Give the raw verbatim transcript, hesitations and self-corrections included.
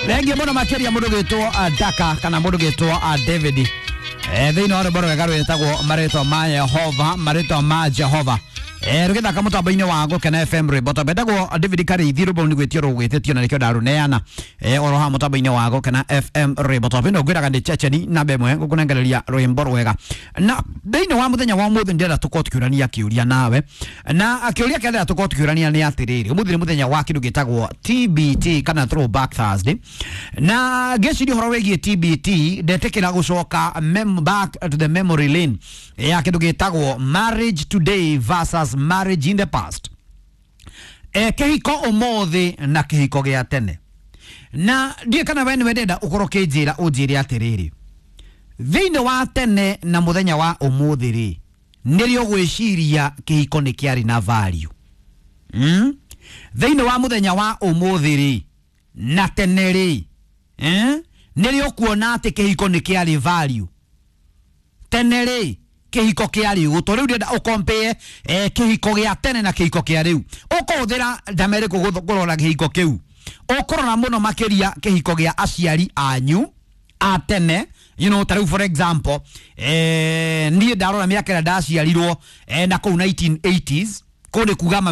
Thengiũ mũno makĩria mũndũ gwĩtwo uh, Daka kana mũndũ gwĩtwo uh, David eh, thĩinĩ wa rwĩmbo rwega rwĩtagwo marĩtwa ma Yehova, marĩtwa ma Jehova, eh, rũgĩthaka mũtambo-inĩ wa Gũkena F M. Rwĩmbo tondũ endagwo David Karĩithi, rwĩmbo nĩ gwĩtio rũgwĩtĩtio na nĩkĩo ndarũneana eh, oro haha mũtambo-inĩ wa Gũkena F M. Rwĩmbo tondũ ĩno ngwĩraga nĩ ceceni namba ĩmwe gũkũnengereria rwĩmbo rwega. Na thĩinĩ wa mũthenya wa ũmũthĩ ndĩrenda tũkorwo tũkĩũrania kĩũria nawe, na kĩũria kĩrĩa ndĩrenda tũkorwo tũkĩũrania nĩ atĩrĩrĩ, ũmũthĩ nĩ mũthenya wa kĩndũ gĩtagwo T B T kana Throwback Thursday, na ngĩciria ũhoro wĩgiĩ T B T ndetĩkĩra gũcoka mem back to the memory lane ya kĩndũ gĩtagwo marriage today versus marriage in the past, e, kĩhiko ũmũthĩ na kĩhiko gĩa tene. Na ndiĩ kana we nĩwe ndĩrenda ũkorwo ũkĩnjĩra, ũnjĩre atĩrĩrĩ, thĩinĩ wa tene na mũthenya wa ũmũthĩ rĩ, nĩrĩo ũgwĩciria kĩhiko nĩ kĩarĩ na value mm? Thĩinĩ wa mũthenya wa ũmũthĩ rĩ na tene rĩ, eh? Nĩrĩo ũkuona atĩ kĩhiko nĩ kĩarĩ value? Tene rĩ, kĩhiko kĩarĩ ũgũtũ? Rĩu ndĩrenda ũkompee eh, kĩhiko gĩa tene na kĩhiko kĩa rĩu. Ũkũhũthĩra ndama ĩrĩkũ kũrora kĩhiko kĩu? Ũkũrora mũno makĩria kĩhiko gĩa aciari anyu a tene, you know, ta rĩu for example, eh, niĩ ndarora mĩaka ĩrĩa ndaciarirwo eh, na kũu nineteen eighties, kũu nĩ kuga mami